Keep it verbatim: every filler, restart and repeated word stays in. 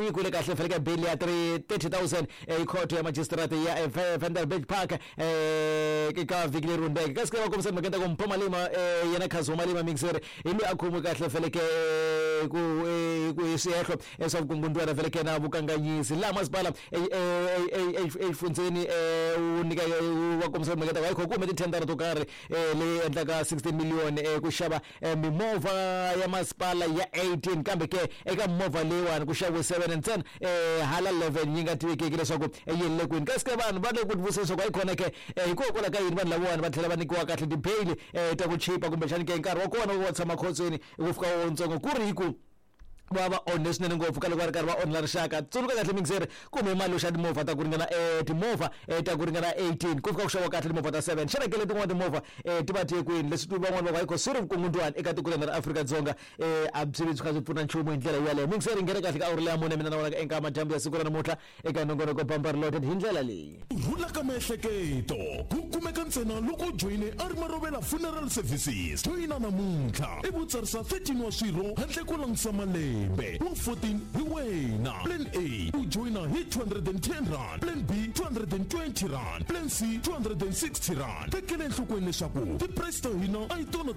Nyikiwile kahle fele bail ya thirty thousand hi khoto ya magistrate ya Vanderbijlpark eh ka vhiki leri hundzeke. Kasi va kombisa timhaka ta ku Mpho Malema, yena Khazi wa Malema mixer, hi loyi a khomiwe kahle feleke ku ku hi swihehlo swa vukungundzwana feleke na vukanganyisi laha masipala exifundzeni wu nyika wa kombisa timhaka ta ku hayi ku hume tithendara to karhi leyi endlaka sixteen million ku xava mimovha ya masipala ya eighteen, kambe ke eka mimovha leyiwani ku xaviwe seven ntsena, hala eleven yi nga tivekeki leswaku yi le kwini. Kasi ke vanhu va le ku tivutisa leswaku hayi khona ke hikokwalaho ka yini vanhu lavawani va tlhela va nyikiwa kahle ti-bail ta ku chipa, kumbexani ke nkarhi wa kona wa tshama khotsweni ku fika wontsongo ku ri hi ku va va onhe swinene ngopfu ka loko va ri karhi va onhela rixaka. Tsundzuka kahle mixer kumbe mali yo xava timovha ta ku ringana timovha ta ku ringana eighteen, ku fika ku xaviwa kahle timovha ta seven. Xana ke letin'wana timovha ti va tiye kwini? Leswi van'wani va ku hayi swi ri vukungundzwani eka tiko ra Afrika-Dzonga, a byi vi byi kha byi pfuna nchumu hi ndlela yaleyo. Mixer yi nghena kahle ka awuri leya mune mina na vona eka madyambu ya siku ra namuntlha eka nongonoko Bampa Reloaded hi ndlela leyi. Rhula ka miehleketo ku kumeka ntsena loko u joyine a ri Marovela Funeral Services. Joyina namuntlha i vutsarisa thirteen wa swirho handle ko langutisa malembe wa fourteen hi wena. Plan A u joyina hi two hundred and ten rand, Plan B two hundred and twenty rand, Plan C two hundred and sixty rand. Tekela enhlokweni leswaku ti-price ta hina a hi tona